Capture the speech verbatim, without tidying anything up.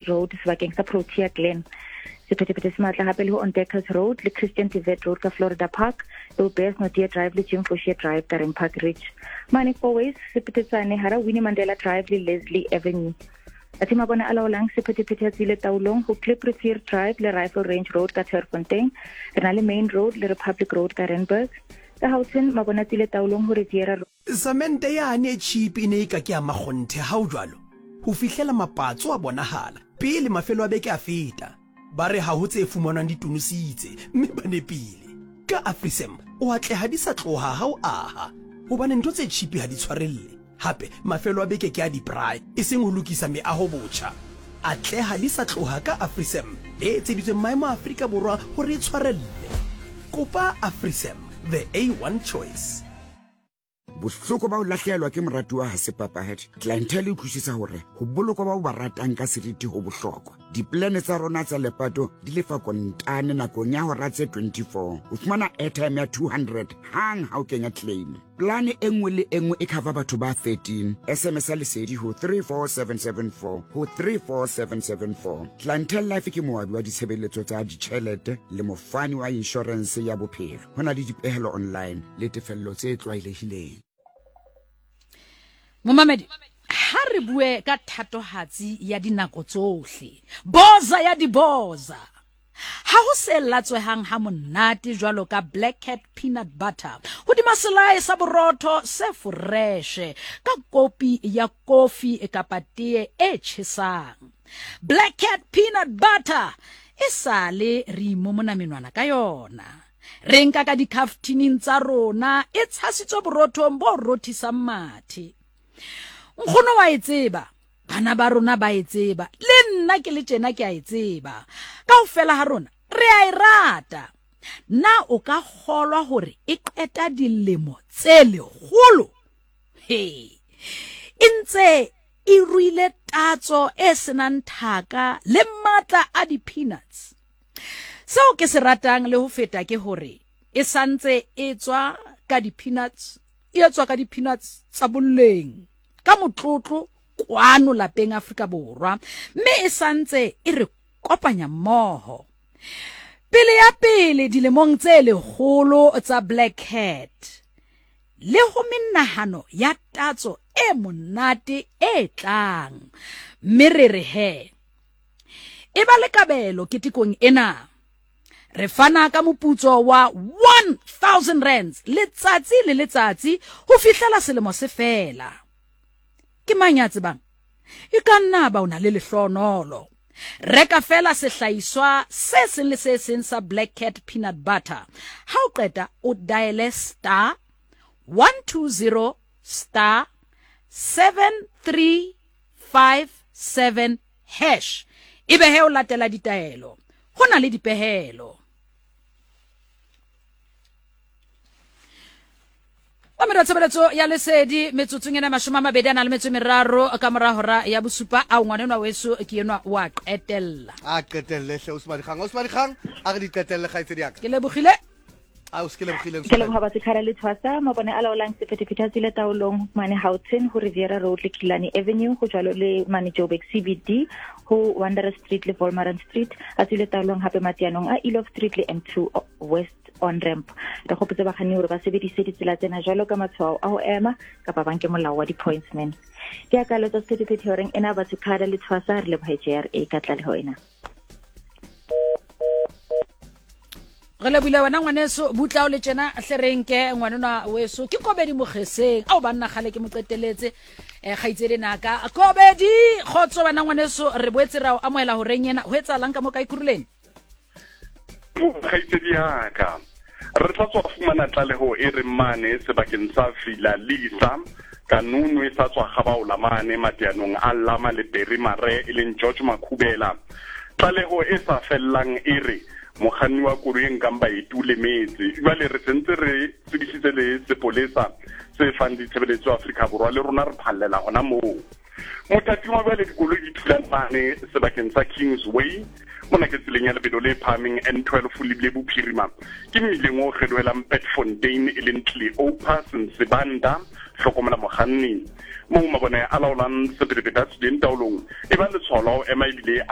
Road sebakeng sa Protea Glen. Sephethephethe se matla hape le ho Ontdekkers Road le Christian de Wet Road ka Florida Park le ho Beyers Naudé Drive le Jim Foshier Drive ka Randpark Ridge. Mane Fourways sephethetsane hara Winnie Mandela Drive le Leslie Avenue. Athe mabone a laolang sephethephethe a tswile taolong ho Kliprivier Drive le Rifle Range Road ka Turffontein. Re na le Main Road le Republic Road ka Randburg. Ka Gauteng mabone a tswile taolong ho Riviera Road. Samente yane e cheap e ne e ka ke ya makgonthe ha o jwalo. Ho fihlela mapatso a bonahala pele mafelo a beke a feta. Ba re ha ho tse fumanwang di tonositse mme ba nepile. Ka AfriSam o atleha di sa tloha ha o aha. Hobane ntho tse cheap ha di tshwarelle. Hape mafelo a beke ke a di-braai e seng ho lokisa meaho botjha. Atleha di sa tloha ka AfriSam e etseditsweng maemo a Afrika Borwa hore e tshwarelle. Kopa AfriSam, the A one choice. Bohloko ba ho lahlehelwa ke moratuwa ha se papadi. Clientele e utlwisisa hore ho bolokwa bao ba ratang ka seriti ho bohlokwa. Diplane tsa rona tsa lepato di lefa kontane nakong ya hora tse twenty-four. O fumana airtime ya two hundred hang ha o kenya claim. Plane e nngwe le e nngwe e cover batho ba thirteen. S M S ya lesedi ho three four seven seven four ho three four seven seven four. Clientele Life ke moabi wa ditshebeletso tsa ditjhelete le mofani wa insurance ya bophelo. Ho na le dipehelo online le tefello tse tlwaelehileng. Momamedi, ha re bue ka thatohatsi ya dinako tsohle, boza ya diboza. Ha ho se latswehang ha monate jwalo ka Black Cat peanut butter hodima selae sa borotho se foreshe ka kopi ya kofi kapa tee e tjhesang. Black Cat peanut butter e sale re imomona menwana ka yona. Re nka ka dikaftining tsa rona e tshasitswe borothong bo rothisang mathe. Nkgono wa e tseba, bana ba rona ba e tseba, le nna ke le tjena ke a e tseba. Kaofela ha rona re a e rata. Na o ka kgolwa hore e qeta dilemo tse lekgolo? He, e ntse e ruile tatso e senang thaka le matla a di-peanuts. Seo ke se ratang le ho feta ke hore e santse e tswa ka di-peanuts, e tswa ka di-peanuts tsa boleng ka motlotlo kwano lapeng Afrika Borwa, mme e santse e re kopanya mmoho. Pele ya pele dilemong tse lekgolo tsa Black Cat le ho menahano ya tatso e monate e tlang, mme re re he e ba le kabelo ketekong ena. Re fana ka moputso wa one thousand rands letsatsi le letsatsi ho fihlela selemo se fela. Ke mang ya tsebang? E ka nna ba o na le lehlonolo. Reka fela sehlahiswa se seng le se seng sa Black Cat peanut butter. Ha o qeta o diale star one two zero star seven three five seven hash. Ebe he o latela ditaelo. Ho na le dipehelo. Mamelo tshebeletso ya lesedi metsotsong ena mashome a mabedi a na le metso e meraro ka mora hora ya bosupa. A ngwanenwa weso ke enwa wa qetella. A qetelle hle Osmadikgang. Osmadikgang a re di qetelle kgaitsedi ya ka. Ke lebohile. A o se ke lebohile. Ke leboha batho le Tshwasa mabone a laolang sephethephethe a tswile taolong mane Gauteng ho Riviera Road le Killarney Avenue ho jwalo le mane Joburg C B D ho Wanderer Street le Volmaran Street a tswile taolong hape matianong a Elof Street le M two West on ramp. Re gopotse bakganni hore ba sebedise ditsela tsena jwalo ka matshwao a ho ema kapa ba nke molao wa di-pointsman. Ke akalo tsa sephethephethe horeng ena batho khada le Tshwasa re leboha J R A ka tlaleho ena. Re lebohile wena ngwaneso butla o le tjena hle re nke ngwanenwa weso ke Kobedi Mogeseng ao banna kgale ke mo qeteletse eh kgaitsedi naka Kobedi kgotso wena ngwaneso re boetse ra o amohela horeng ena ho etsahalang ka mo ka Ekurhuleni? Kgaitsedi ya ka re tla tswa fumana tlaleho e reng mane sebakeng sa Villa Lisa kanunu e sa tswa gabaola mane matianong a Lama le Berry Mare e leng George Makhubela. Tlaleho e sa fellang e re mokganni wa koloi e nkang baeti o lemetse. Jwale re sentse re tsebisitse le sepolesa se fang ditshebeletso Afrika Borwa le rona re phallela hona moo. Mothating wa jwale dikoloi di thulana mane sebakeng sa Kingsway mona ke tseleng ya lebelo le phahameng N twelve lebile bophirima ke mmileng o kgelohelang Petfontein e leng Cleopas Nsibanda hlokomela mokganni moo mabone a laolang sephethephethe a tswileng taolong e ba letshwao la ho ema ebile a